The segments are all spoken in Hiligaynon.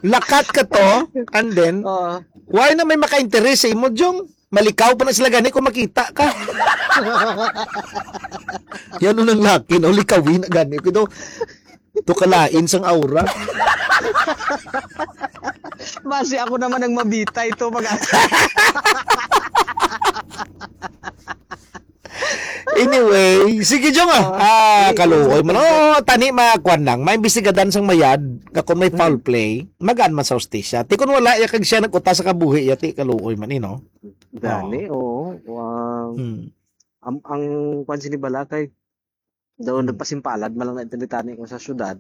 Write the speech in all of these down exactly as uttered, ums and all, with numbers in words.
Lakat ka to, and then, Oo. Why na may maka-interes sa imo, Jong? Malikaw pa na sila gani kung makita ka. Yan nun ang laki, no? Likawin na gani. Kito, to kalain sang aura. Basi ako naman ang mabitay to mag Anyway, sige, Jong, ah. Oh, ah, kaluoy man. Oh, tani, makuan lang. May imbestigadan sang mayad, nga kung may foul play, magaan man sa hustisya. Ti kung wala, ya kag siya nag-uta sa kabuhi, ya, ti kaluoy man, eh, no? Dani, oo. Wow. Hmm. Ang, ang kwan sini bala kay, daw nagpasimpalad man lang na intinditani ko sa syudad.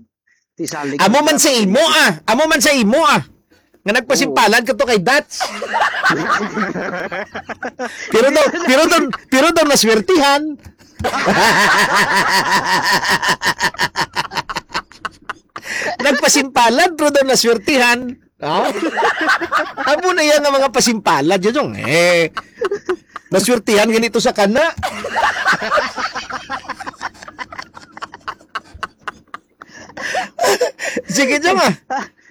Ti salig Amo man sa imo, ah. Amo man sa imo, ah. Nga nagpasimpalad ka to kay Dats. Pero daw, pero daw, pero daw naswertihan. Nagpasimpalad, pero daw naswertihan. Ha? Amo na yan nga mga pasimpalad, yun yung, eh. Naswertihan ganito sa kana. Sige, Jong, ah.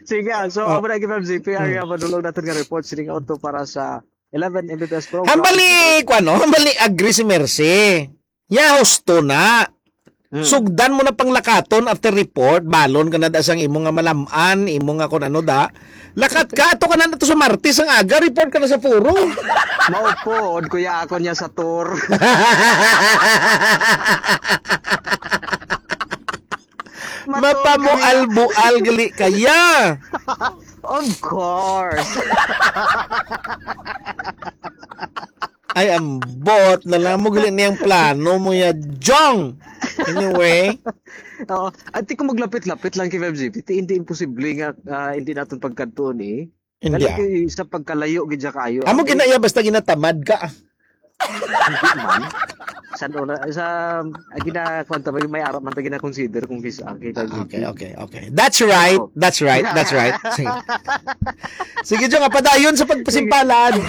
Sige, ah. So, Oh. amo na, K five G P, ang, Mm. ah, madulong natin nga report, sining auto para sa eleven M B B S program. Hambali, kuwan, no? Hambali, agree si Mercy. Ya, husto na. Hmm. Sugdan mo na panglakaton after report, balon ka na da sang imo nga malam-an, imo nga kun ano da. Lakat ka, ato ka na nato sa Martes ang aga, report ka na sa forum. Mao pod, kuya, ako niya sa tour. Mapamual-bual gali kaya. Of course. Ay, ambot na lang mo gali niyang plano mo ya, Jong. Anyway. Oo. At di ko maglapit-lapit lang kay Feb G P. Ti, hindi imposible nga, ah, hindi naton pagkadtuon eh. Hindi, Dali ah. kay sa pagkalayo gid siya kaayo. Amo Okay? ginaiya basta ginatamad ka. Hindi man. Sa una, sa, ah, gina-, kwan ta, may, may ara man ta gina-consider kung visa, okay, Ah, okay, okay, okay. That's right. Oo. That's right. That's right. Sige. Sige, Jong, ah, padayon sa pagpasimpalad.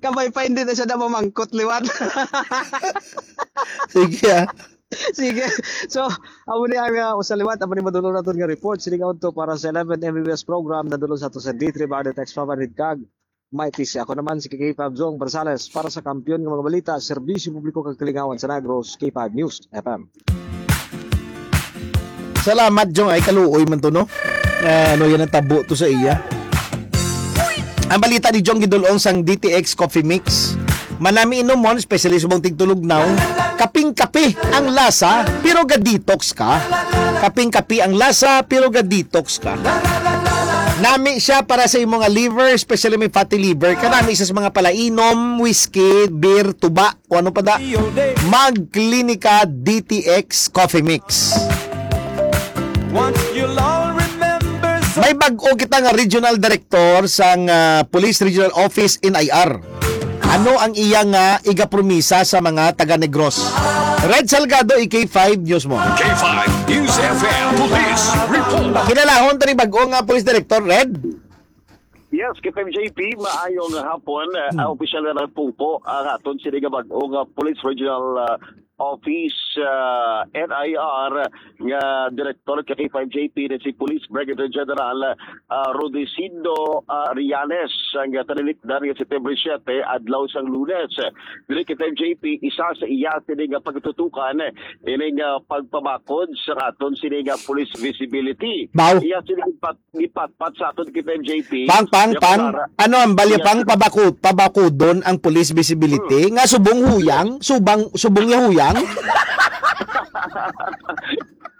Kamay pa, hindi na siya na mamangkot liwat. Sige, ah. Sige. So, amo ni ang, ah, usa liwat, amo ni madulong naton nga report. Sining auto para sa eleven M B B S program, nadulong sa ato sa D three Barrio Text five hundred kag. May T C. Ako naman si K five Jong Barzales para sa Kampiyon nga mga balita, serbisyo publiko kag kalingawan sa Negros, K five News F M. Salamat, Jong. Ay, kaluoy man to, no? Ah, ano yan ang tabo to sa iya? Ang balita ni Jong gidulong sang D T X Coffee Mix. Manami inomon, especially subong tigtulugnaw. Kaping-kape ang lasa, pero ga-detox ka. Kaping-kape ang lasa, pero ga-detox ka. Nami siya para sa imo nga liver, especially may fatty liver. Kanami siya sa mga palainom, whiskey, beer, tuba, o ano pa da. Mag Klinika D T X Coffee Mix. Once you'll all remember so- May bag-o kita nga regional director sang, ah, Police Regional Office, N I R. Ano ang iya nga igapromisa sa mga taga Negros? Red Salgado, E K five News mo. K five News F M Police Report. Kinalahon tani bag-o nga police director, Red? Yes, K five J P, maayong hapon. Uh, Hmm. Opisyal na nagpungko ang aton sini nga bag-o nga Police Regional, uh, Office, uh, N I R, nga Director ka K five J P na si Police Brigadier General, uh, Rudecindo, uh, Rianes, ang tanilikdan nga September siete, adlaw sang Lunes. Diri K five J P, isa sa iya sini nga pagtutukan, ini nga pagpabakod sa aton sini nga police visibility. Baw. Iya sini pag gipatpat sa aton K five J P. Pang, pang, Yung pang. Sara. Ano ang balya Yes. pang pabakut, pabakudon ang police visibility? Hmm. Nga subong huyang, subang, subong niya huyang?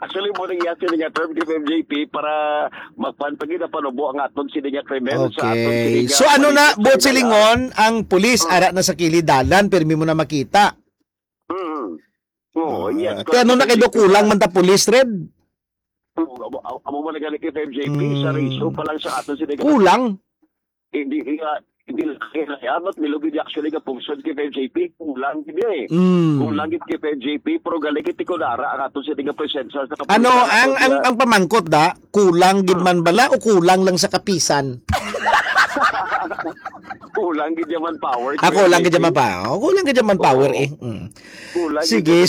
Actually, mo nang iya sini nga term K five J P para magpan-, pag ginapanubo ang aton sini nga krimen sa aton Okay. sini nga So, ano na, police buot sini nga silingon, ang pulis, Hmm. ara na sa kilid dalan, pirmi mo na makita. Hmm. Oo, Ah, yes, kaya ano na correct. Kayo do kulang man ta pulis, Red? Amo, amo, amo man gani K five J P, sa Mm. ratio pa lang sa aton sini nga Kulang. Hindi, hindi nga, hindi lang kaya, but nilugid actually ka function K five J P, kulang gid eh. Mm. Kulang gid K five J P, pero galing iti kunara ang aton sini nga presensya sa Ano, kapulisan ang, natin ang, nga ang pamangkot da, kulang gid Hmm. man bala o kulang lang sa kapisan? Kulang gid yaman power, Ah, kulang gid K five J P. yaman pa. Oh, kulang gid yaman power Oo. eh. Mm. Kulang Sige, gid yaman